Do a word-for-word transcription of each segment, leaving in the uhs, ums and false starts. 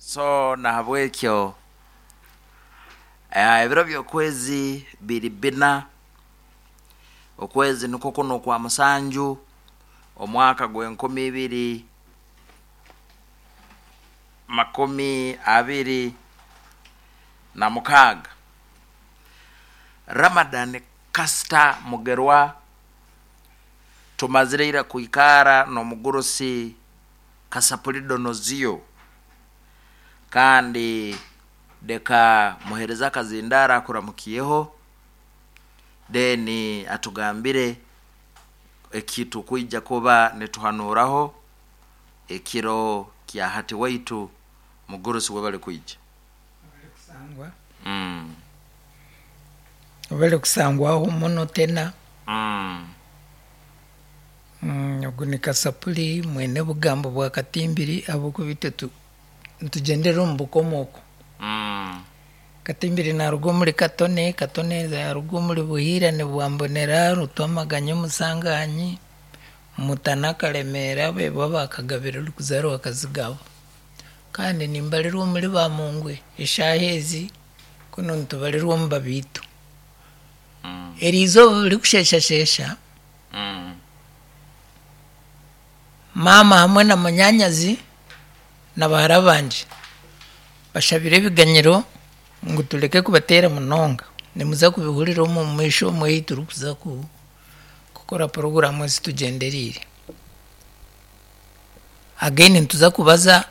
So nahabwekyo eh, ebiro by'okwezi biri bina, okwezi nikwo kuno okwa musanju, omwaka gw'enkumi ibiri makumi abiri na mukaaga. Ramadan Kasita Mugerwa, tumazire ira kwikara n'omugurusi Kasapuli Donozio, kandi leka muhereza akazindara akuramukiyeho, then atugambire ekitukwija kuba nituhanuraho ekiro kya hati. Waitu mugurusi, webale kwija. Kusangwa. mm. Obale kusangwaho muno tena. Mm. Mm, ogu ni Kasapuli mwene bugambo bwa Katimbiri, ahabwokuba tu nitugyendera omu bukomooko. Mm. Katimbiri naruga omuri Katone, Katone yaruga omuri Buhiirane bwa Mbonera, Rutwamaganya, Omusanganyi, Mutana, Karemera, bebo bakagabira orikuzaarwa Kazigaba. Kandi nimbarirwa omuri Bamungwe eshaaha ezi, kunu nitubarirwa omu Babiito. Mm. Eri izooba ririkusheeshasheesha, Mm. maama hamwe na munyanyazi na bahara bangye bashabire ebiganyiro ngu tureke kubateera munonga. Nimuza kubihurira omu maisho omu ei turikuza ku- kukora poroguramu ezi tugyendereire. Again nituza kubaza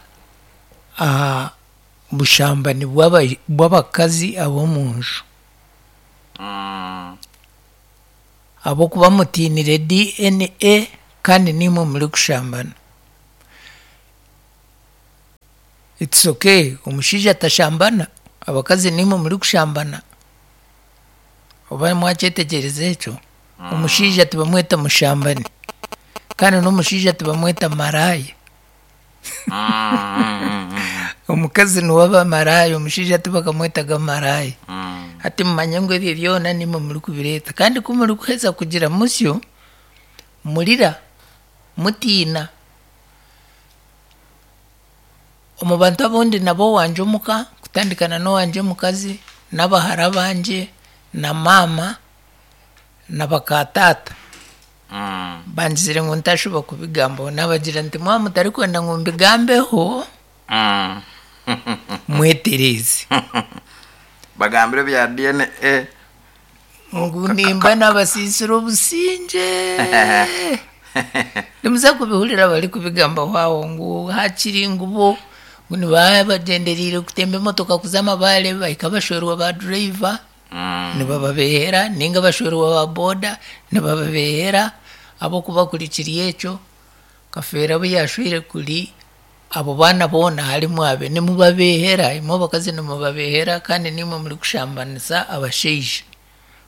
aha bushambani bw'aba- bw'abakazi ab'omunju. Mm. Ahabw'okuba mutiinire D N A kandi niimwe murikushambana. It's okay, omushaija atashambana, abakazi niimwe murikushambana. Oba mwakyetegyereza ekyo? Omushaija tibamweta mushambani, kandi n'omushaija tibamweta maraaya. Mm. Mm. Omukazi niwe aba maraaya, omushaija tibakamwetaga maraaya. Mm. Hati mumanye ngu ebyo byona nimwe murikubireeta, kandi ku murikuheza kugira musyo, murira mutiina. Omu bantu abundi nabo owangye omuka, kutandikana n'owangye omukazi n'abahara bangye na maama na bakataata, Mm. bangizire ngu ntashuba kubigambaho. Nabagira nti mwaba mutarikwenda ngu mbigambeho, Mm. mwetereeze. Bagambire bya D N A. Ngu nimba nabasiisire obusingye. Nimuza kubihurira bari kubigambaho aho, ngu hakiri ngu bo ngu nibaba bagyendereire kutemba emotoka kuza Amabaare, bahika bashwerwa ba driver, Mm. nibababehera, ninga bashwerwa ba boda, nibababehera. Ahabwokuba kuri kiri ekyo, Kafeera abu yashwire kuri abo baana boona harimu abe. Nimubabehera imwe abakazi, nimubabehera, kandi nimwe murikushambanisa abashaija.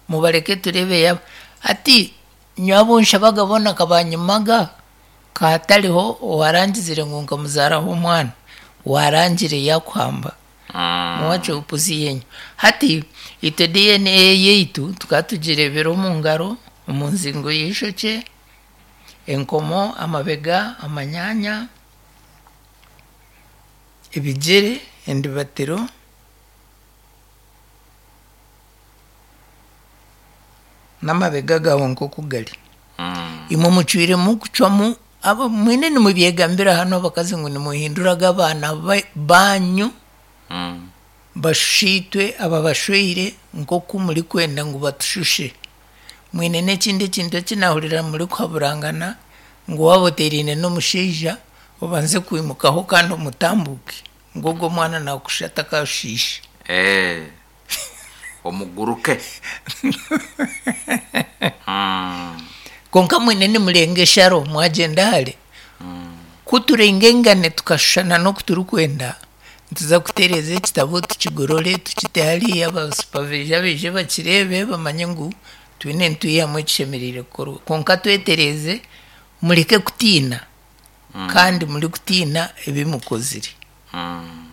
Mubareke turebe yaba hati nyowe abu nshabaga boona kabanyimaga kahatariho owarangizire ngu nkamuzaaraho omwana warangire yakuhamba. Mm. Muwache upuzi yenyu. Hati itwe D N A yaitu tukaba tugirebera omu ngaro, omu nzingo y'eishokye, enkomo, amabega, amanyanya, ebigyere, endibatiro n'amabega gawe nk'oku gari. Mm. Imwe mucwiremu kucwamu abo mwine nimubyegambira hano abakazi ngu nimuhinduraga abaana ba- banyu Mm. bashushitwe aba bashweire nk'oku murikwenda ngu batushushe. Mwine n'ekindi ekintu ekinahurira murikuhaburangana, ngu waaba oteeraine n'omushaija, obanze kwimukaho kandi omutambuke, ngu ogwo omwana nakushusha atakashiisha. Eh. Omuguruke. Mm. Konka mwine nimurenga esharo, mwagyenda hare. Ku turengengane tukashushana n'oku turikwenda, nituza kutereeza ekitabo, tukigorore, tukite hariya, abasupaviija baije bakireebe, bamanye ngu twine nitwihamu ekishemereire kukorwa. Konka twetereeze, mureke kutiina, kandi murikutiina ebi mukozire. Mm.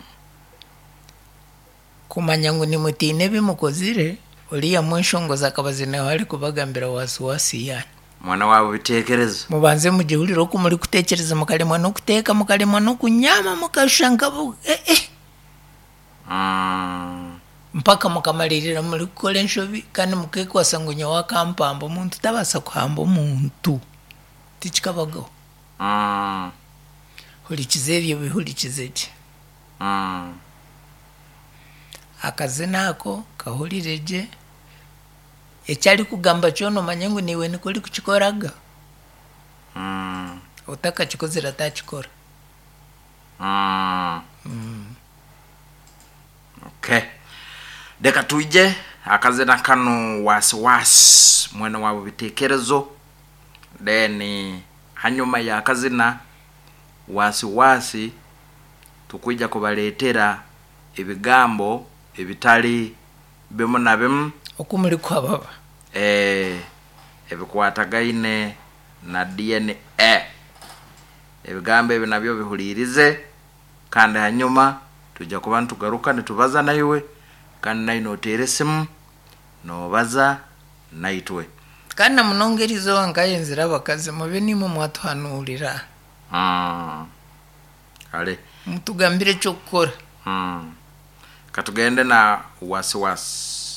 Kumanya ngu nimutiina ebi mukozire, oriya mweshongozi akaba nawe arikubagambira wasiwasi yanyu. Mwana wawe bitekerezo. Mubanze mugihurire oku murikutekyereza, mukaremwa n'okuteeka, mukaremwa n'okunyama, mukashusha nkabo eh, eh. Mm. Mpaka mukamalirira muri kukora enshobi kandi mukekwasa ngu nyowe akampamba. Omuntu tabaasa kuhamba omuntu, tikikabagaho. Mm. Hurikiza ebyo, bihurikize gye. Mm. Akazina ako kahurire gye, eki arikugamba kyona omanye ngu niiwe nikwo orikukikoraga. Mm. Otakakikozire atakikora. Mm. Okay, reka twije akazina kano, Wasiwasi, mwene wabo bitekerezo. Then hanyuma y'akazina Wasiwasi tukwija kubaletera ebigambo ebitali bimu na bimu oku muri kuhababa eh, ebikwatagaine na D N A. Ebigambo ebi nabyo bihulirize, kandi hanyuma tujja kuba nitugaruka nitubaza naiwe, kandi nawe noteera esimu nobaza naitwe. Kandi na munonga eriizooba nkayenzire abakazi mube nimwe mwatuhanuurira. mm. kale Mutugambire ekyokukora. mm. katugende na Wasiwasi.